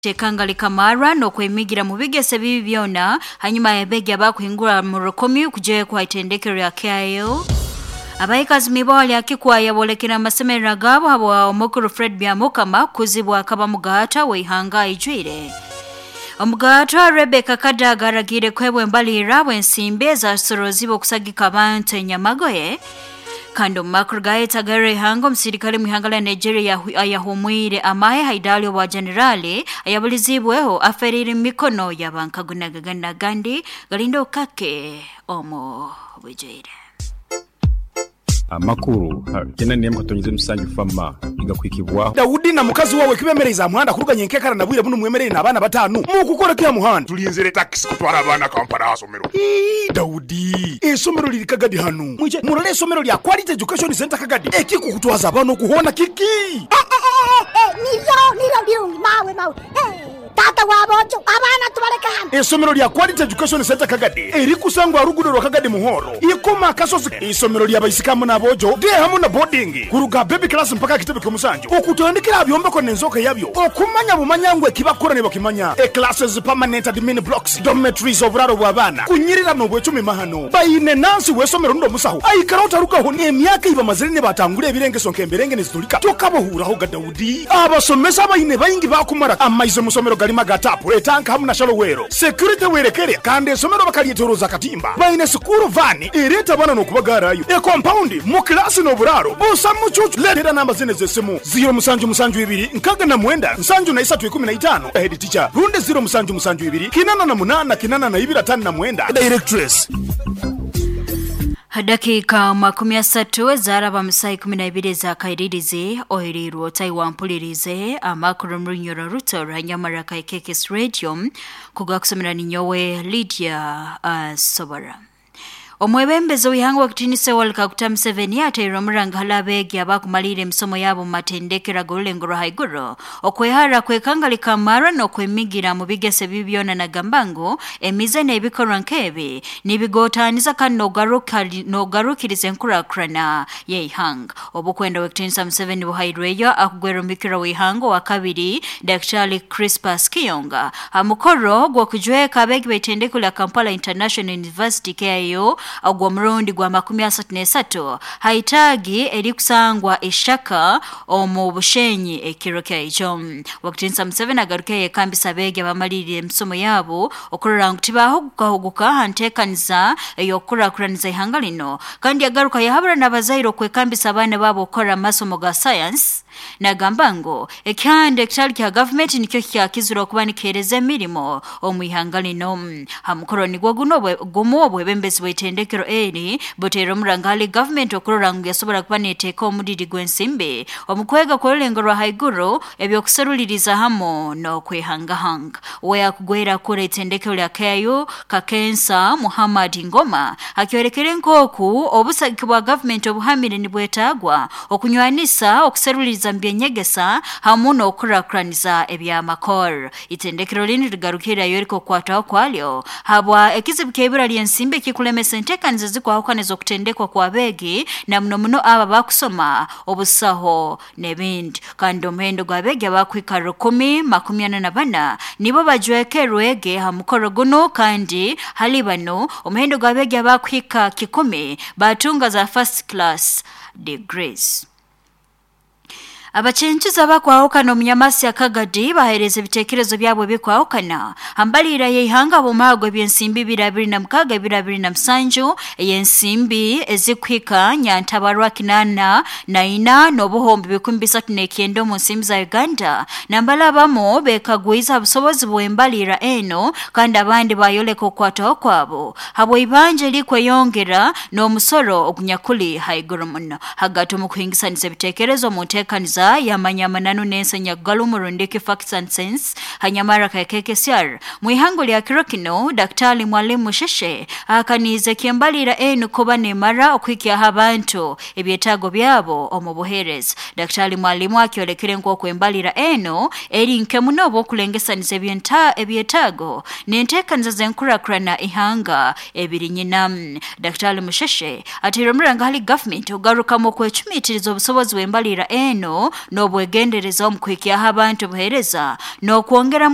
Tekanga likamarwa n'okwemigira mu bigese bibi byona hanyuma y'abeegi abakuhingura mu rukumi kujekwa itendekero lya KIU. Abaikazi miboli akikwaya bolekera amasemerero gabo habwa omukuru Fred Byamukama kuzibwa akaba mugata w'ihanga ijwire. Omugatwa Rebecca Kadaga aragire kwebwa embalirira bw'ensimbi ezasorozibwe okusagika abantu enyamagoye. Kandi omu makuru gayetagara ihanga, omusirikale mu ihanga lya Nigeria ayahumwire amahe haidali obwa generali ayabulizibweho aferire mu mikono y'abankagunagagana gandi galinda okake omu bwijaire. Amakuru kena nemu katonyize musanju fama igakwikibwaho. Daudi na mukazi wawe kibemereza muhanda kuruganya enkekara na bwire buno mwemerere n'abaana batano mukukora kya muhanda. Tulinzire taxi kutwara abaana Kampala asomero. Daudi, esomero liri Kagadi hano. Mwije murole esomero lya Quality Education Center Kagadi. Ekikukutwaza abaana okuhona kiki? Nilyo birungi mawe mawe. Tata wabojo abaana tubaleka hano. Esomero lya Quality Education Center Kagadi erikusangwa rugudo rwa Kagadi Muhoro. Ikoma akasozi. Isomero lya baisikamu n'abojo de hamu na boarding kuruga baby class mpaka kitebe ky'omusanju. Okutandikira byombeko n'enzoka yabyo. Okumanya bumanyangwe ekibakora ne bakimanya. E classes permanent admin blocks, dormitories oburaro bw'abaana. Kunyirira n'obwecumi mahano. Bayine nansi w'esomero ndo musaho. Aikara otarukaho n'emyaka iba mazire ne batangura ebirengeso nk'emberenge nezitulika. Tokabohuraho ga Daudi. Abasomesa bayine bayingi bakumara amaize musomero galima gatapu etanka hamu na shalowero. Security werekere kandi esomero bakalietoroza katimba. Bayine sukuru vani ereta bana n'okubagarayo. E compound mu klasi n'oburaro. Busa mucucu letera namba zine z'essimu 0 musanju musanju ibiri nkaga na mwenda nsanju na isatu ikumi na itano. Head teacher runde 0 musanju musanju ibiri kinana na munana kinana na ibiri atano na mwenda. Directress. Dakika 30 zaraba musai 12 za kairirize ohirirwo taiwampulirize amakuru murunyoro ruto rwanyamara ka KKS Radio kugakusomera ninyowe Lydia Sobara. Omwebembezi w'ihanga wakitinise Yoweri Kaguta Museveni ateire omuranga hali abeegi abakumalire emisomo yabo mu matendekero ag'orulengo rwa haiguru okwehara kwekanga likamara n'okwemigira mu bigese bibi byona nagamba ngu emize n'ebikorwa nk'ebi nibigotaniza kandi n'ogarukiriza enkurakurana y'eihanga. Obukwenda w'ekitinisa Museveni buhairweyo akugwera omubikira w'ihanga owa kabiri Daktari Crispus Kiyonga ha mukoro gw'okujweka abeegi b'eitendekero lya Kampala International University KIU ogwo murundi gwa 33 haitagi erikusangwa ishaka omu bushenyi ekiro kyaijo. Wakitinisa Museveni agaruke yekambisa abeegi abamalirire emisomo yabo okurora ngu tibahugukahuguka ha nteekaniza ey'okukurakuraniza ihanga lino, kandi agaruka yahabura n'abazaire okwekambisa abaana baabo okukora amasomo ga science. Nagamba ngu ekihanda ekitali kya gavumenti nikyo kyakizire okuba nikihereza emirimo omu ihanga lino. Ha mukoro nigwo guno gumu obwebembezi bw'eitendekero eri buteire omuranga hali gavumenti okurora ngu yasobora kuba neteeka omudidi gw'ensimbi omu kwega kw'orulengo rwa haiguru ebyokuseruliriza hamu n'okwehangahanga. We yakugwera kura itendekero lya KIU Kakensa Muhammad Ngoma akyorekere nk'oku obusagiki bwa gavumenti obuhamire nibwetagwa okunywanisa okuseruliriza mbyenyegesa hamu n'okukurakuraniza ebyamakoro. Itendekero linu ligarukirayo erikokwataho kwalyo habwa ekizibu ky'eibura ly'ensimbi ekikulemesa enteekaniza ezikwahukana okutendekwa kw'abeegi na muno muno abo abakusoma obusaho n'ebindi. Kandi omuhendo gw'abeegi abakuhika 1,044 nibo bajwekerwege ha mukoro guno, kandi hali bano omuhendo gw'abeegi abakuhika 10 batunga za first class degrees. Abachenchiza bakwahukana omunyamasi ya Kagadi bahereza ebitekerezo byabo bikwahukana hambalira y'ihanga bumago ebyensimbi 2026 2027 eyensimbi ezikuhika nyantabarwa 84 n'obuhombi 339 mu nsimbi za Uganda. Nambala abamo bekagwiza obusobozi bw'embalira eno, kandi abandi bayoleka okwataho kwabo habwa ibanja likweyongera n'omusoro ogunyakuli haiguru muno. Hagati omu kuhingisaniza ebitekerezo mu nteekaniza yamanyamananu n'ensenya galumu rundiki facts and sense hanyamara ka KKCR mwihango lya kiro kino Daktari Mwalimu Sheshe akanize kyembalira enu kuba nemara okuhikyaho abantu ebyetaago byabo omu buheereza. Daktari Mwalimu akyolekere nk'oku embalira eno eri nke muno obw'okulengesaniza ebyetaago n'enteekaniza z'enkurakurana ihanga ebiri nyina. Daktari Musheshe ateire omuranga hali gavumenti ogarukamu okwecumiitiriza obusobozi bw'embalira eno N'obwegendereza omu kuhikyaho abantu obuheereza n'okwongeramu.